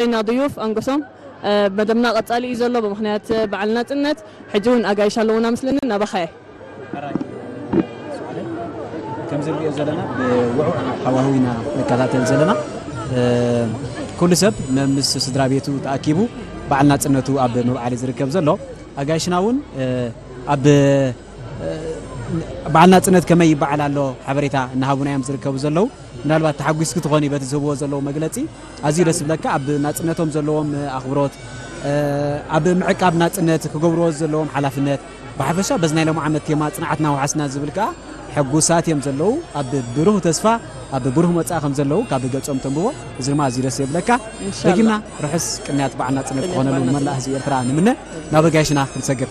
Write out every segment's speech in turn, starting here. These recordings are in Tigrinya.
ዜና ድዩፍ ኣንጎሶም፣ እ፣ መደብና ቀጻሊ እዩ ዘሎ ብምኽንያት በዓል ናጽነት። ሕጂ እውን ኣጋይሽ ኣለዉና ምስለኒ፣ ናባኻ እየ። ሕራይ፣ ሱዓለ፣ ከምዚ ንሪኦ ዘለና ብውዑዕ ሃዋህው ኢና ንከታተል ዘለና። እ፣ ኩሉ ሰብ መምስ ስድራ ቤቱ ተኣኪቡ በዓል ናጽነቱ ኣብ ምብዓል ዝርከብ ዘሎ። ኣጋይሽና እውን፣ እ፣ ኣብ፣ እ፣ በዓል ናጽነት ከመይ ይበዓል ኣሎ ሓበሬታ እናሃቡና እዮም ዝርከቡ ዘለዉ። ምናልባት ተሓጒስኪ ትኾኒ በቲ ዝህብዎ ዘለዉ መግለጺ። ኣዝዩ ደስ ዝብለካ፣ ኣብ ናጽነቶም ዘለዎም ኣኽብሮት፣ እ፣ ኣብ ምዕቃብ ናጽነት ክገብርዎ ዘለዎም ሓላፍነት፣ ብሓፈሻ በዚ ናይ ሎም ዓመት ቴማ ጽንዓትና ወሓስና ዝብል ከኣ ሕጉሳት እዮም ዘለዉ። ኣብ ብሩህ ተስፋ፣ ኣብ ብሩህ መጻኢ ከም ዘለዉ ካብ ገጾም ተንብቦ። እዚ ድማ ኣዝዩ ደስ የብለካ። ኢንሻላህ። ደጊምና ርሑስ ቅንያት በዓል ናጽነት ቅንያት ክኾነሉ በዓል ንመላእ ናጽነት። ህዝቢ ኤርትራ ንምነ። ናብ ኣጋይሽና ክንሰግር።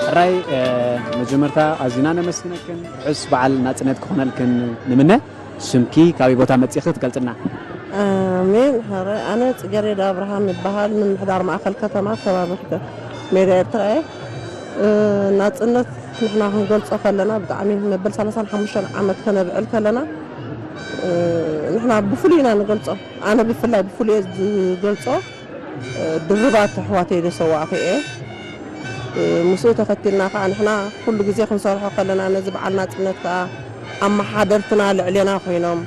ሕራይ፣ እ፣ መጀመርታ ኣዚና ነመስግነክን፣ ርሑስ በዓል ናጽነት ክኾነልክን ንምነ። ስምኪ፣ ካበይ ቦታ መጺእኺ ትገልጽልና? ኣሜን። ሕራይ፣ ኣነ ጽጌሬዳ ኣብርሃም ይበሃል። ምምሕዳር ማእከል ከተማ ከባቢ ሜዳ ኤርትራ እየ። እ፣ ናጽነት ንሕና ክንገልጾ ከለና ብጣዕሚ መበል ሰላሳን ሓሙሽተን ዓመት ከነብዕል ከለና፣ እ፣ ንሕና ብፍሉይ ኢና ንገልጾ። ኣነ ብፍላይ ብፍሉይ እየ ዝገልጾ። ድርባት ኣሕዋተይ ዘሰዋእኹ እየ። ምስኡ ተኸቲልና ከኣ ንሕና ኩሉ ግዜ ክንሰርሖ ከለና ነዚ በዓል ናጽነት ከኣ ኣመሓደርትና ልዕሌና ኮይኖም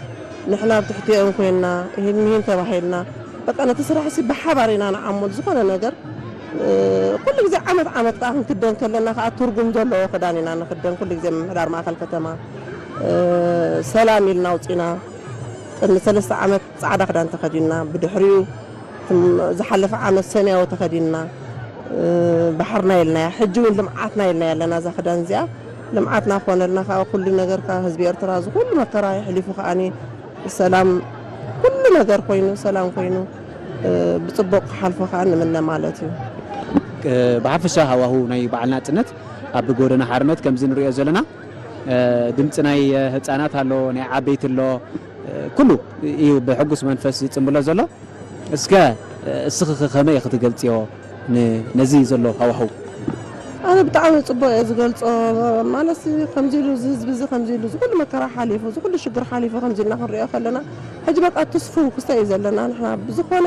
ንሕና ኣብ ትሕቲኦም ኮይንና ይህን ምሂን ተባሂልና በቃ ነቲ ስራሕሲ ብሓባር ኢና ንዓሞ። ዝኾነ ነገር ኩሉ ግዜ ዓመት ዓመት ከኣ ክንክደን ከለና ከኣ ትርጉም ዘለዎ ክዳን ኢና ንኽደን። ኩሉ ግዜ ምምሕዳር ማእከል ከተማ ሰላም ኢልና ኣውጺና ቅድሚ ሰለስተ ዓመት ጻዕዳ ክዳን ተኸዲንና ብድሕሪኡ ዝሓለፈ ዓመት ሰማያዊ ተኸዲንና ባሕርና ኢልናያ። ሕጂ እውን ልምዓትና ኢልናያ ኣለና። እዛ ክዳን እዚኣ ልምዓትና ክኾነልና ከዓ ኩሉ ነገር ከዓ ህዝቢ ኤርትራ እዚ ኩሉ መከራ የሕሊፉ ከዓኒ ሰላም ኩሉ ነገር ኮይኑ ሰላም ኮይኑ ብፅቡቅ ክሓልፎ ከዓ ንምነ ማለት እዩ። ብሓፈሻ ሃዋሁ ናይ በዓል ናፅነት ኣብ ጎደና ሓርነት ከምዚ ንሪኦ ዘለና ድምፂ ናይ ህፃናት ኣሎ፣ ናይ ዓበይቲ ኣሎ፣ ኩሉ እዩ ብሕጉስ መንፈስ ዝፅምብሎ ዘሎ። እስከ እስኺ ከ ከመይ ኢኺ ትገልጽዮ ን- ነዚ ዘሎ ሃዋህው? ኣነ ብጣዕሚ ፅቡቅ እየ ዝገልፆ። ማለት ከምዚ ኢሉ እዚ ህዝቢ እዚ ከምዚ ኢሉ እዚ ኩሉ መከራ ሓሊፉ እዚ ኩሉ ሽግር ሓሊፉ ከምዚ ኢልና ክንሪኦ ከለና ሕጂ በቃ ትስፉው ክስታይ እዩ ዘለና። ንሕና ብዝኾነ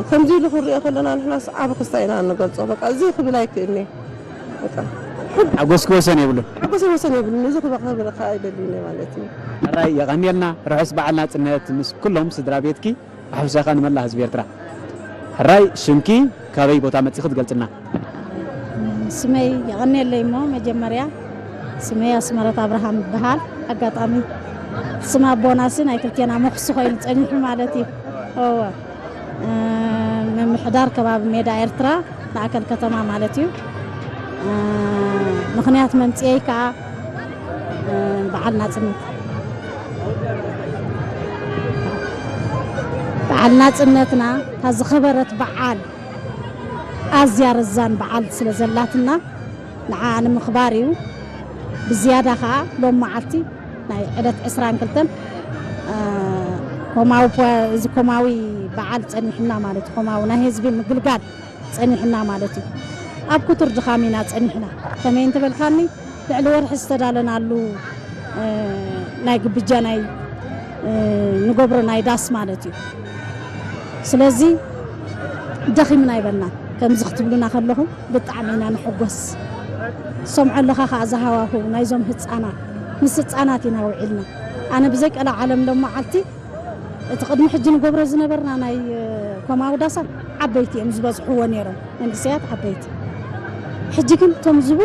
ከምዚ ኢሉ ክንሪኦ ከለና ንሕና ሰዓቢ ክስታይ ኢና እንገልፆ። በቃ እዚ ክብል ኣይክእልኒ። በቃ ሓጎስኪ ወሰን የብሉን። ሓጎሰይ ወሰን የብሉን። እዚ ክበኸብልካ ኣይደልዩኒ ማለት እዩ። ሕራይ የቐንየልና። ርሑስ በዓል ናጽነት ምስ ኩሎም ስድራ ቤትኪ። ብሓፈሻ ከኣ ንመላእ ህዝቢ ኤርትራ። ሕራይ ሽምኪ ካበይ ቦታ መጺኺ ትገልጽልና? ስመይ የቐንየለይ እሞ መጀመርያ ስመይ ኣስመረት ኣብርሃም ይበሃል። ኣጋጣሚ ስም ኣቦናሲ ናይ ክልቴና መኽሱ ኮይኑ ጸኒሑ ማለት እዩ። እወ ምምሕዳር ከባቢ ሜዳ ኤርትራ ማእከል ከተማ ማለት እዩ። ምኽንያት መምፅኤይ ከዓ በዓል ናፅነት በዓል ናፅነትና እታ ዝኸበረት በዓል ኣዝያ ረዛን በዓል ስለ ዘላትና ንዓ ንምኽባር እዩ። ብዝያዳ ከዓ ሎም መዓልቲ ናይ ዕለት ዕስራን ክልተን ኮማዊ እዚ ኮማዊ በዓል ፀኒሕና ማለት እዩ። ኮማዊ ናይ ህዝቢ ምግልጋል ፀኒሕና ማለት እዩ። ኣብ ክቱር ድኻም ኢና ፀኒሕና። ከመይ እንተበልካኒ ልዕሊ ወርሒ ዝተዳለናሉ ናይ ግብጃ ናይ ንገብሮ ናይ ዳስ ማለት እዩ። ስለዚ ደኺምና ኣይበልናን። ከምዚ ክትብሉና ከለኹም ብጣዕሚ ኢና ንሕጎስ። ሰምዖ ኣለኻ ከዓ ዝሃዋህው ናይዞም ህፃናት ምስ ህፃናት ኢና ውዒልና። ኣነ ብዘይ ቀላ ዓለም ሎም መዓልቲ እቲ ቅድሚ ሕጂ ንገብሮ ዝነበርና ናይ ኮማዊ ዳሳት ዓበይቲ እዮም ዝበዝሕዎ ነይሮም መንእሰያት ዓበይቲ ሕጂ ግን እቶም ዝበ